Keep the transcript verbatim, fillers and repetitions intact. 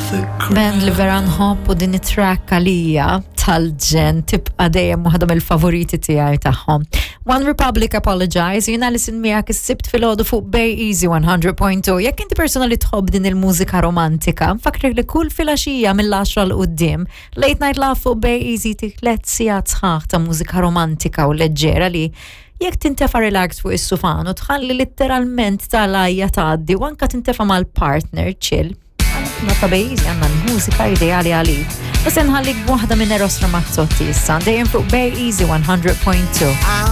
the Band li vera nħobb u din it-track għalija tal-ġenn tibqa' dejjem waħda mill-favoriti tiegħi tagħhom. One Republic Apologize, jiena li sin miegħek is-Sibt filgħodu fuq Bay Easy one hundred point two. Jekk inti persona li tħobb din il-mużika romantika, nfakkrek li kull filgħaxija mill-għaxra 'l quddiem, Late Night Love fuq Bay Easy tik tliet sigħat sħaħ ta' mużika romantika u leġġera li jekk tintefa relax fuq is-sufan u tħalli literalment tal-ajja tgħaddi u anka tintefa mal-partner chill. Nota Bay Easy għandna l-mużika ideali għalik. U se nħallik b'waħda minn Eros Ramazzotti issa, dejjem fuq Bay Easy one hundred point two. I'll